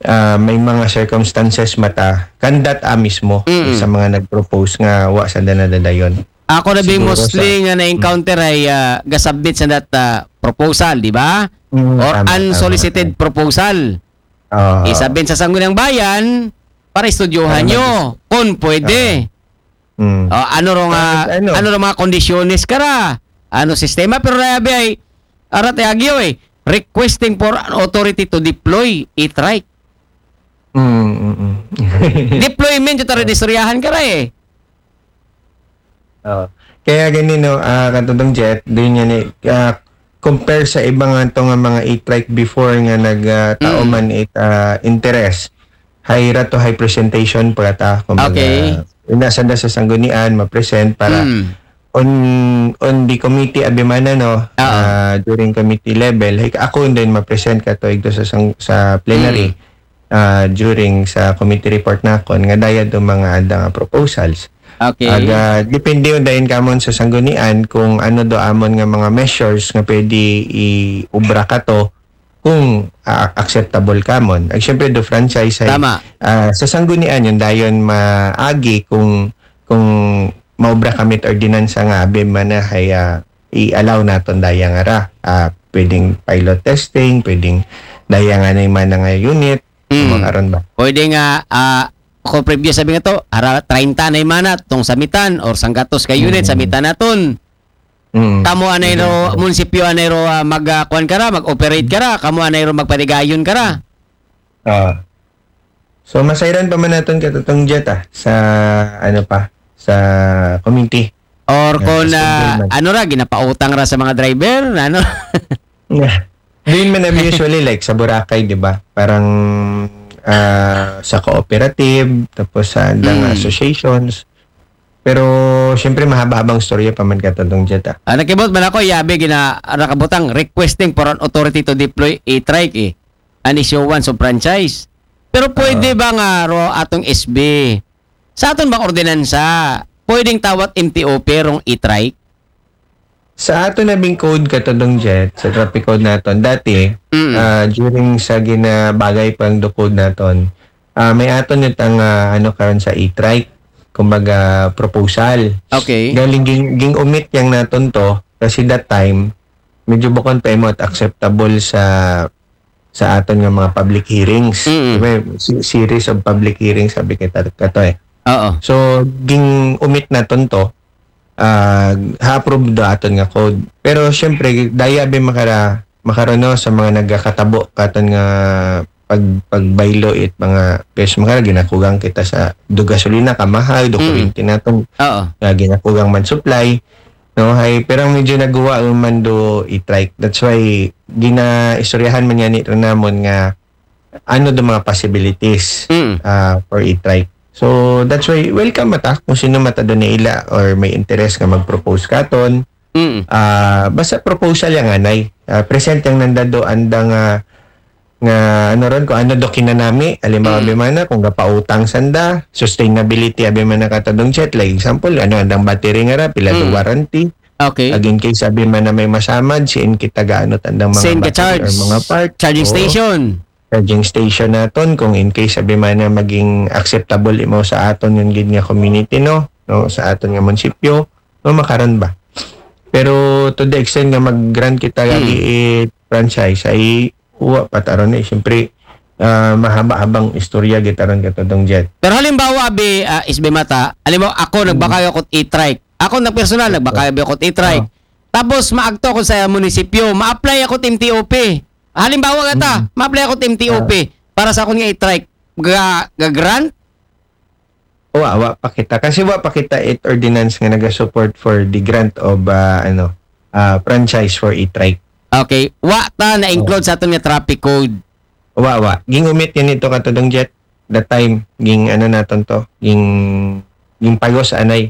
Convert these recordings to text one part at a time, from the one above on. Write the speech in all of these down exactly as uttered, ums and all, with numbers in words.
ah, may mga circumstances mata kandat a mismo Mm. sa mga nag-propose nga wa sanda nadadayon. Ako na bi Siguro mostly nga na-encounter ay ah, ga-submit sa that ah, proposal, di ba? Mm, Or tama, tama, unsolicited proposal. Oo. I-submit sa Sangguniang Bayan para estudyohan Para nyo kung pwede. Mm. O, ano ro nga, Ah, ano? ano ro mga kondisyones kara? Ano sistema? Pero nayabi ay, arat ay agyo eh, requesting for an authority to deploy e-trike. Mm, mm, mm. Deployment yung taro istoryahan kara eh. Oo. Kaya gani, no, ah, katudong Jet, doon yan eh, ah, compare sa iba nga to nga mga e-trike before nga nag ah, tao Mm. man it ah, interest, high ra to high presentation para ta, kumbaga, Okay. ina sanda sa sanggunian, ma-present para Mm. on on the committee abi man na, no, Oo. ah, during committee level, like, ako din ma-present ka to igto sa sang, sa plenary Mm. ah, during sa committee report nakon nga daya do mga anda nga proposals. Okay. Aga, depende yun dayon kamon sa sanggunian kung ano do amon nga mga measures nga pwede i-ubra kato kung ah, acceptable kamon. Ag syempre do franchise ay Tama. ah, sa sanggunian yun dayon maagi kung kung maubra kami it ordinansa nga abi man na hay ah, i-allow naton daya nga ra. Ah, pwedeng pilot testing, pwedeng daya nga na man nga unit, Mm. makaron ba? Pwede nga, ah, kung previous sabi nga to, ara treinta na imana, tong samitan, or sanggatos ka unit, Mm. samitan naton. Mm. Kamo anay ro, munisipyo anay ro, ah, mag, ah, kuwan kara, mag-operate kara, kamo anay ro magpatigayon kara. Ah. So, masayran pa man naton katutong Jet ah, sa, ano pa, sa committee. Or Yeah, kung, mas ah, convenient. Ano ra, ginapautang ra sa mga driver, ano? Yeah. Doon man namin usually like sa Boracay, di ba? Parang ah, sa cooperative, tapos sa andang Mm. associations. Pero, syempre, mahaba-habang storya pa man katutong Jet ah. Ah, nakibot man ako, yabi, gina, nakabutang requesting for an authority to deploy e-trike eh. An issuance of franchise. Pero pwede Oo. ba nga ro atong S B? Sa aton bang ordinansa, pwedeng tawat M T O P rong e-trike? Sa ato na bing code katudong Jet, sa traffic code naton, dati, Mm. ah, during sa ginabagay pang do code naton, ah, may aton itang, ah, ano karon sa e-trike, kumbaga proposal. Okay. Galing ging, ging-omit yang naton to, kasi that time, medyo bukon pa imo at acceptable sa sa aton nga mga public hearings. Mm. Diba, si- series of public hearings, sabi kita kato eh. Oo. So, ging-omit naton to, ah, ha-approve do aton nga code. Pero, syempre, daya bi makara, makarono sa mga nagakatabo katon nga pag, pagbaylo it mga, guys, makara ginakugang kita sa do gasolina, kamahal, do Mm. kuryente naton, Oo. nga ginakugang man supply. No, hay, pero ang medyo naguwa man do e-trike. That's why, ginaistoryahan man yan ito namon nga ano do mga possibilities Mm. ah, for e-trike. So, that's why, welcome mata kung sino mata do ila or may interest nga mag-propose katon. Mm. Ah, basta proposal yang anay. Ah, present yang nanda do andang ah, nga ano ron, kung ano do kinanami, halimbawa, Mm. abi man na, kung gapautang sanda, sustainability, abi man na katudong Jet, like example, ano, andang battery nga ra, pila do Mm. warranty, Okay. ag in case, abi man na may masamad, siin kita gaano andang mga Send ka battery or charge. mga part. Charging Oo. Station. Charging station naton, kung in case, abi man na maging acceptable imo sa aton yun gid nga community, no? No, sa aton nga munisipyo, no, makaron ba? Pero to the extent nga mag-grant kita Hmm. lagi it franchise, ay wa pa taron eh. Siyempre, ah, mahaba-habang istorya gitaron katudong Jet. Pero halimbawa, abi, ah, S B Mata, halimbawa, ako, nagbakay ako e-trike. Ako, na personal, nagbakay abi ako e-trike. Ah. Tapos, maagto ako sa munisipyo, ma-apply ako M T O P. Halimbawa, gata, Mm. ma-apply ako M T O P para sa akong e-trike. Ga, ga-grant? Wa, wa pa kita. Kasi wa pa kita it ordinance nga naga-support for the grant of, ah, ano, ah, franchise for e-trike. Okay. Wa ta na-include sa aton nga traffic code. Wa, wa. Ging-omit yan ito katudong Jet. That time, ging ano naton to. Ging, ging payos anay.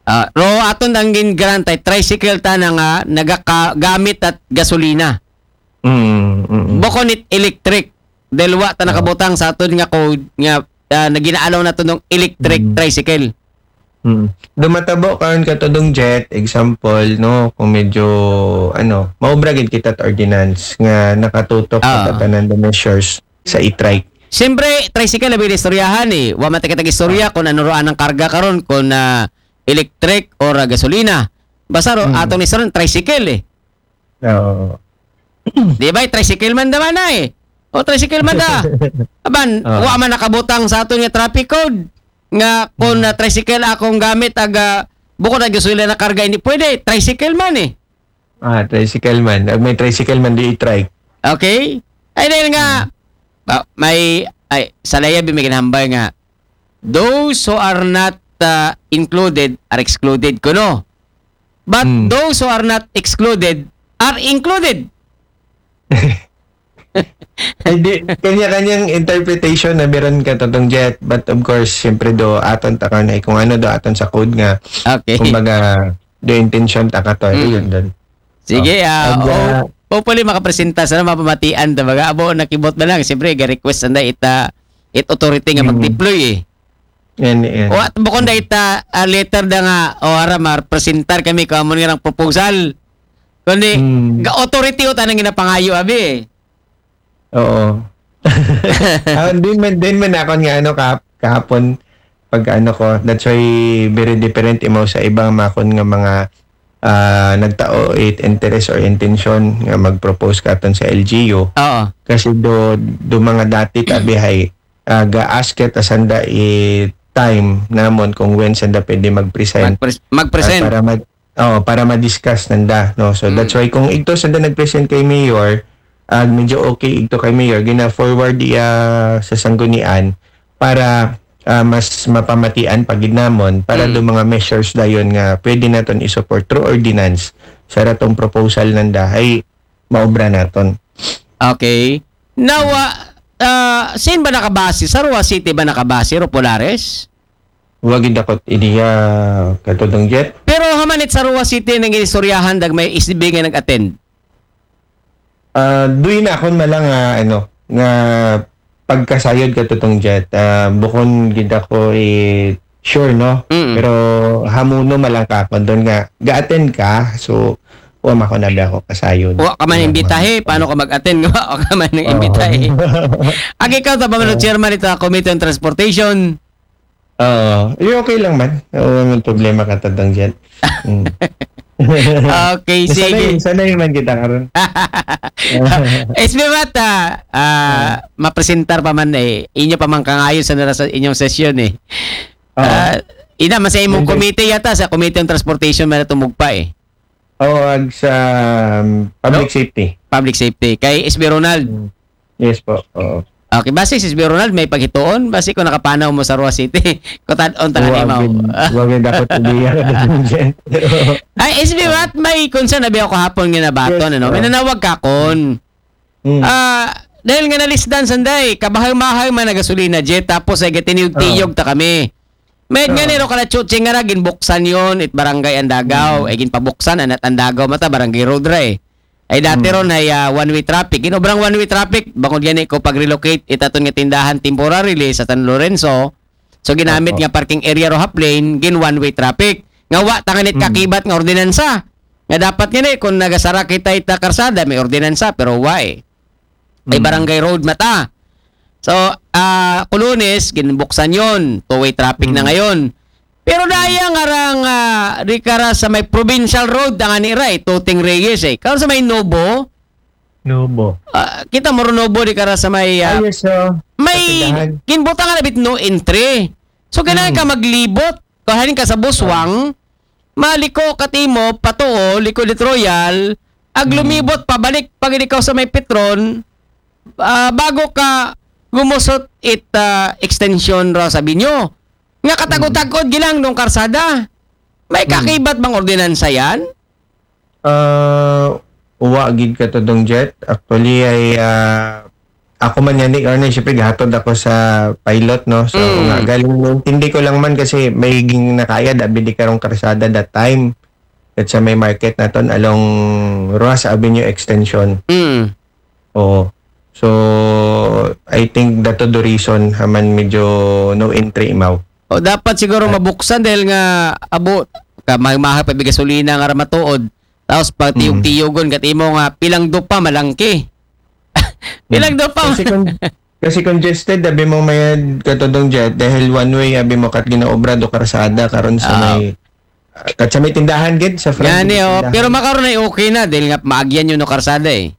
Ah, ro aton ang gin-grant ay tricycle ta na nga nagagamit at gasolina. Mm, mm, mm. Bukon it electric. Dahil wa ta Oo. nakabutang sa aton nga code nga ah, na gina-allow naton ng electric Mm. tricycle. Mm. Dumatabo karon katudong Jet, example, no, kung medyo, ano, maubra gid kita at ordinance nga nakatutok Ah. sa tanan the measures sa e-trike. Siyempre, tricycle abi istoryahan eh. Wa man ta kitag istorya kung ano roon ang karga karon, kung ah, electric or ah, gasolina. Basta ro, Mm. atong istoryahan, tricycle eh. Oo. Di ba, tricycle man da man na eh. O tricycle man da. Aban, Ah. wa man nakabutang sa aton nga traffic code nga kung na tricycle akong gamit aga bukod ang gasolina na karga, hindi pwede. Tricycle man eh. Ah, tricycle man. Ag may tricycle man, di e-trike. Okay? Ay dahil nga ah, may ay sa laya bi may ginhambal nga those who are not uh, included are excluded kuno. But Mm. those who are not excluded are included. Hindi, kanya-kanyang interpretation na meron ka, Totong Jet. But of course, siyempre do, aton ta ka na kung ano do, aton sa code nga, Okay. Kumbaga, do intention ta ka to. Mm. Yun doon. Sige, Oh. ah, Ag, oh, ah, hopefully makapresenta sa mapamatian ta baga. Abo, nakibot na lang. Siyempre, ga-request na ita, it authority nga Mm. mag-deploy eh. Yan, yan. O at bukod na ita, ah, letter da nga, o ara, mar-presentar kami kung amon nga ng proposal. Kundi, Mm. ga-authority o tanang ginapangayo, abi eh. Oo. Ah, din man, din man ako nga ano, kah- kahapon, pag ano ko, that's why very different imaw sa ibang makon nga mga ah, nagtao it interest or intention nga mag-propose katon sa L G U. Oo. Kasi do, do mga dati tabi hay, ah, ga-ask it asanda i time namon kung when sanda pwede mag-present. Mag-pres- mag-present. Ah, para ma- oh, para ma-discuss nanda, no? So that's why kung igto sanda nag-present kay Mayor, ag medyo okay igto kay Mayor, gina-forward iya sa sanggunian para ah, mas mapamatian pa gid namon para Mm. do mga measures dayon nga pwede naton i-support through ordinance sa ratong proposal nanda ay maobra naton. Okay. Now, ah, ah, saan ba nakabase? Sa Roa City ba nakabase, Ro Polares? Wa gid ako ideya, Katudong Jet. Pero hamanit sa Roa City nang inistoryahan dag may S D B nga nag-attend. Ah, duy na akon malang nga ano, nga pagkasayod, Katudong Jet. Ah, bukon gid ako i sure, no? Mm. Pero hamuno malang ka ako doon nga ga-attend ka, so wa man ko nabi ako kasayod. Wa ka man imbitahe, paano ka mag-attend nga wa ka man nang imbitahe? Agi ka ta ba man chairman ito Committee on Transportation? Oo. Eh, okay lang man. Oo, may problema, Katudong Jet. Mm. Okay, sige. Sanay, sanay man kita karon. S B Mata, ah, mapresentar pa man eh. Inyo pa man kangayon sa nara sa inyong sesyon eh. Oo. Ah, ina, man sa imong Hindi. Committee yata, sa Committee on Transportation man tumugpa eh. Oo, ag sa um, public No? safety. Public Safety. Kay S B Ronald. Mm. Yes po. Oo. Okay, basi si S B Ronald may paghituon, basi kung nakapanaw mo sa Roa City, kutad-on ta Wa kanimaw. gid, wa gid dapat ideya, Katudong Jet. Ay, S B Mat, may concern na biya ko hapon nga nabaton, Yes, ano? May sir. Nanawag ka kon. Mm. Ah, dahil nga nalisdan sanday, kabahay-mahay man na gasolina jet, tapos ay gatiniyog-tiyog ta kami. May nga Oo. niro kala chuching nga ra, ginbuksan yon it barangay Andagaw, ay ginpabuksan, anat Andagaw mata, barangay road ra eh. Ay dati ron ay ah, one-way traffic. Ginobrang one-way traffic, bangod gani ko pag-relocate itaton nga tindahan temporarily sa San Lorenzo. So ginamit Opo. Nga parking area ro half lane, gin one-way traffic. Nga wa tangan it Mm. kakibat nga ordinansa. Nga dapat nga ni, kung nagasara kita ita karsada, may ordinansa, pero wa eh. Ay Mm. barangay road mata. So, ah, Kulunes, ginbuksan yon. Two-way traffic na Mm. ngayon. Pero daya nga rang, ah, di kara sa may provincial road, ang anira eh, Tuting Reyes eh. Karon sa may Nobo, Nobo. ah, kita mo ro Nobo, di kara sa may, ah, Ayos, oh. may Katindahan. ginbutangan na bit no entry. So, kailangan Mm. ka maglibot. Kung halin ka sa Buswang, maliko ka timo, patuo, likod it Royal, ag Mm. lumibot, pabalik, pag ikaw sa may Petron, ah, bago ka gumusot it ah, extension ra sa Binyo. Nga katagod-tagod gilang nung karsada. May Mm. kakibat bang ordinansa yan? Ah, wa gid, Katudong Jet. Actually, ay, ah, ako man yan, ano, siyempre, gahatod ako sa pilot, no? So, Mm. nga, galing, intindi ko lang man kasi may ging nakaya, dabi di karong karsada that time. At sa may market naton along Roas Avenue Extension. Mm. Oo. So, I think that the reason haman medyo no entry imaw. O dapat siguro mabuksan dahil nga abo ka mahal-mahal pa bigay gasolina nga ra matuod. Tapos pag tiyog-tiyogon kat imo nga pilang dupa malangki. Pilang dupa. Kasi kung, Kasi congested, abi mo mayad, Katodong Jet, dahil one way, abi mo, kat ginaobra do karsada karon sa Ah. may, kat sa may tindahan gid, sa front Yan gid eh, sa oh. tindahan. Pero makaroon ay okay na dahil nga maagyan yun no karsada eh.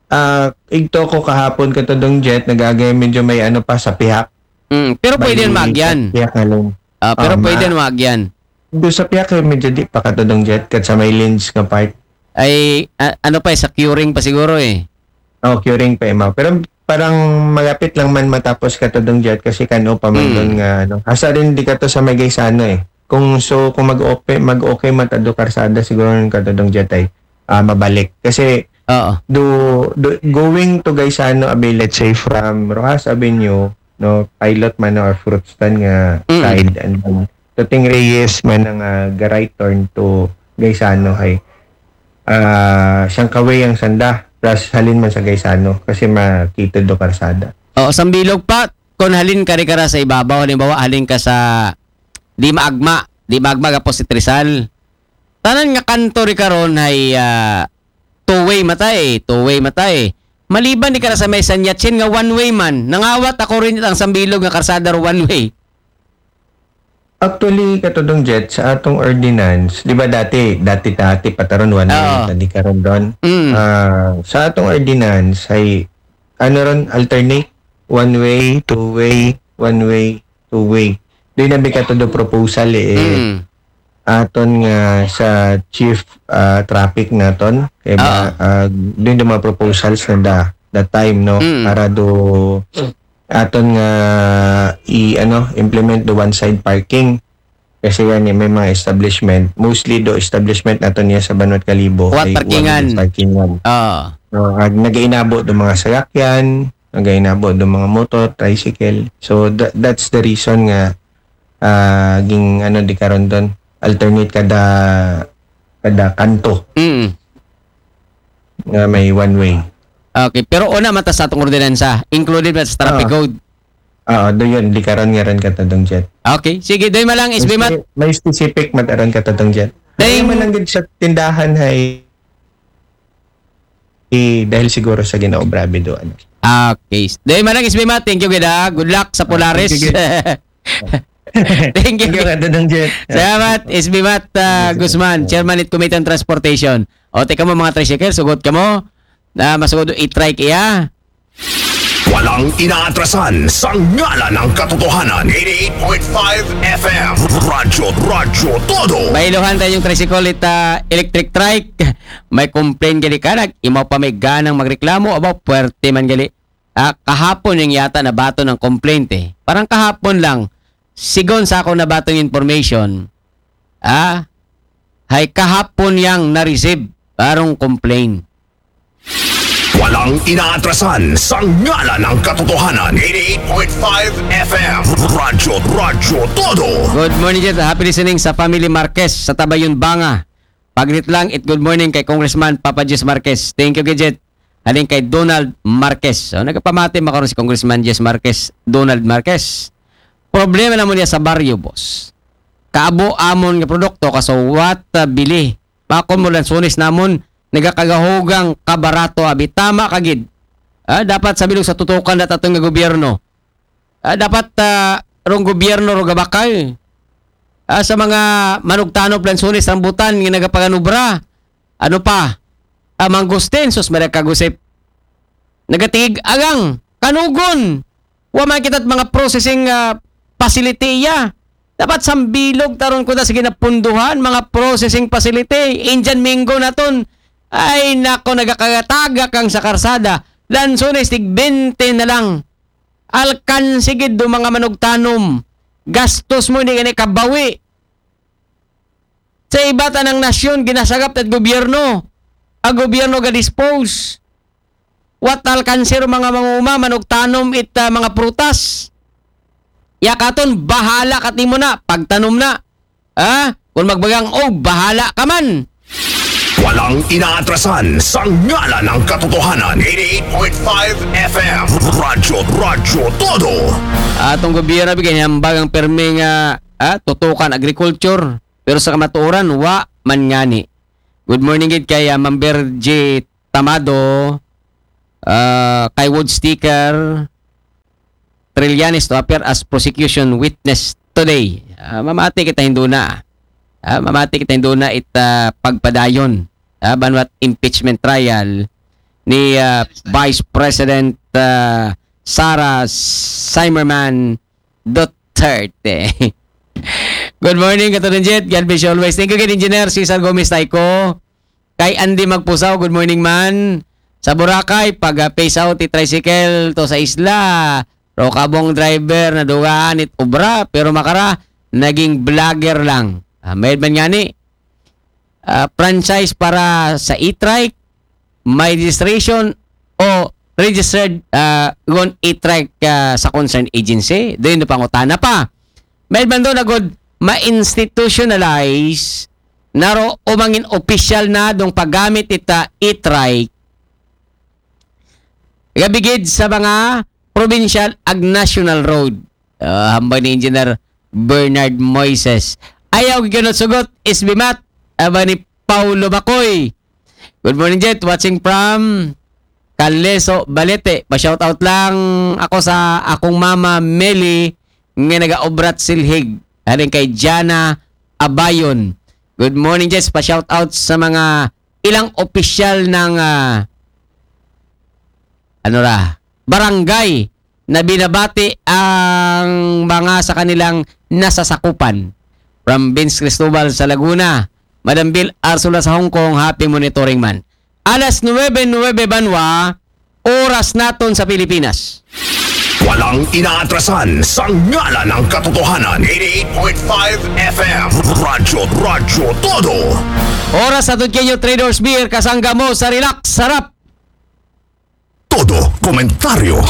Ah, igto ko kahapon, Katodong Jet, nagagay medyo may ano pa sa pihak. Mm, pero pwede May yan maagyan. Pihak na lang. Ah, pero Ah, pwede ma- yan maagyan. Doon sa pihak, eh, medyo di pa, Katodong Jet, kat sa may lens nga part. Ay, a- ano pa eh, sa curing pa siguro eh. Oh, curing pa, Emma. Pero parang malapit lang man matapos, Katodong Jet, kasi kano pa man Hmm. doon nga, ano. Asa rin di ka to sa may Gaisano eh. Kung so, kung mag-okay, mag-okay matado karsada, siguro yung, Katodong Jet, ay ah, mabalik. Kasi Oo. do, do going to Gaisano, abi, let's say from Roxas Avenue, no, Pilot man or Fruit Stand nga Mm. side, and then to Ting Reyes man nga ga-right turn to Gaisano, hay ah siyang kaway ang sanda, plus halin man sa Gaisano kasi makitid do karsada. Oo, sambilog pa, kung halin ka rin ka ra sa ibabaw, halimbawa, halin ka sa di maagma, di maagma ka po si Trizal. Tanan nga kanto rin karon ay ah, two-way matay, two-way matay. Maliban di ka ra sa may San Yatsin nga one-way man, nangawat ako rin ang sambilog nga karsada ro one-way. Actually, Katodong Jet, sa atong ordinance, di ba dati, dati, dati pa taron one way, Oo. tadi karon doon. Mm. Ah, sa atong ordinance, ay, ano ron, alternate, one way, two way, one way, two way. Doon na bi ka todo proposal eh. Mm. Aton nga sa chief ah, traffic naton, kay ba, Oo. ah, doon yung mga proposals na da, that time, no? Mm. Para do, aton nga i ano implement the one side parking. Kasi yan eh, may mga establishment, mostly do establishment nato niya sa Banwat Kalibo. What Ay, parkingan? One parkingan. Oo. No, ag nagainabo do mga sasakyan, nagainabo do mga motor, tricycle. So that, that's the reason nga ah, ging ano di karon doon, alternate kada kada kanto Mm. nga may one way. Okay, pero una mata sa atong ordinansa, included na sa traffic Ah. code. Oo, do yun, di karon nga rin, Katodong Jet. Okay, sige, doy malang S B Mat. May, may specific mataron, Katodong Jet. Dahil- Dahil man lang gid sa tindahan ay eh, dahil siguro sa ginaobra bido ano. Okay. Doy malang S B Mat, thank you gid ha. Good luck sa Polaris. Sige. Thank you. Thank you, Katodong Jet. Salamat, S B Mat ah, Sige, sige. Guzman, Chairman at Committee on Transportation. O, teka mo mga tricycle, sugot ka mo. Na masugod i-trike iya. Walang inaatrasan sa ngalan ng katotohanan. Eighty-eight point five F M. Radyo, Radyo Todo. Bailuhan tayo yung tricycle it ah, electric trike. May complain gali ka, nag imaw pa may ganang magreklamo, aba, puwerte man gali. Ah, kahapon yung yata nabato ng complaint eh. Parang kahapon lang, sigon sa ako nabato yung information, ah, hay kahapon yang na-receive, parang complaint. Walang inaatrasan sa ngalan ng katotohanan. Eighty-eight point five F M. Radyo, Radyo Todo. Good morning, Jet. Happy listening sa Family Marquez sa Tabayon, Banga. Paglit lang, it good morning kay Congressman Papa Jis Marquez. Thank you, Gidget. Halin kay Donald Marquez. So, nagpamati makaroon si Congressman Jis Marquez, Donald Marquez. Problema naman niya sa baryo, boss. Kaabo amon nga produkto, kasawat, ah, bili. Pakon mo lang sunis namon, nagakagahugang kabarato, abi. Tama ka gid. Ah, dapat sa bilog sa tutukan na taton nga gobyerno. Ah, dapat ah, rong gobyerno ro gabakal. Ah, sa mga manugtanop, lansunis, rambutan nga nagapanganubra. Ano pa? Ah, mangustin, sus, mara kagusip. Nagatigig agang, kanugon. Wa man kita't mga processing ah, facility iya. Dapat sambilog taron ko na sige napunduhan, mga processing facility. Indian mango naton. Ay nako, nagakagatagak ang sa karsada. Lansunis, tig bente na lang. Alkanse gid do mga manugtanom. Gastos mo, hindi gani kabawi. Sa iba tanang nasyon, ginasagap at gobyerno. Ang gobyerno ga-dispose. What alkanse ro mga manguma, manugtanom it ah, mga prutas. Ya katon, bahala ka timo na, pagtanom na. Ah, kung magbagang, oh, bahala ka man. Walang inaatrasan sa ngalan ng katotohanan. Eighty-eight point five F M. Radyo, Radyo Todo. Atong gobyerno, bigyan niya ang bagang permi nga ah, tutukan agriculture. Pero sa kamatuoran, wa man ngani. Good morning gid kay ah, Ma'am Bergie Tamado, ah, kay Wood Sticker, Trillanes to appear as prosecution witness today. Ah, mamati kita hinduna. Ah, mamati kita hinduna it ah, pagpadayon, ah, banwat impeachment trial ni ah, Vice President ah, Sara Zimmerman Duterte. Good morning, Katutunan Jet. God bless you always. Thank you again, Engineer Cesar Gomez Taico. Kay Andy Magpusaw, good morning man. Sa Boracay, pag ah, phase out ti tricycle to sa isla, raw kabong driver nadugaan it obra, pero makara, naging vlogger lang. Ah, mayad man ngani, ah, franchise para sa e-trike, may registration o registered ah, gon e-trike ah, sa concerned agency. Doon na pangutana pa. Mayad man doon agud ma-institutionalize naro o mangin opisyal na dong paggamit ita e-trike gabigid sa mga provincial ag national road. Ah, hambal ni Engineer Bernard Moises. Ayaw gikunot sugot, S B Mat, aba ni Paulo Bacoy. Good morning, Jet. Watching from Caleso, Balete. Pa-shout out lang ako sa akong mama, Meli, nga nagaobrat silhig. Haring kay Jana Abayon. Good morning, Jets. Pa-shout out sa mga ilang opisyal ng ah, ano ra, barangay na binabati ang mga sa kanilang nasasakupan. From Vince Cristobal sa Laguna, Madam Bill Arsula sa Hong Kong, happy monitoring man. Alas nuwebe nuwebe banwa, oras naton sa Pilipinas. Walang inaatrasan sa ngalan ng katotohanan. eighty-eight point five F M. Radyo, Radyo Todo. Oras sa Tudkenyo Traders Beer, kasangga mo sa relax, sarap. Todo komentaryo.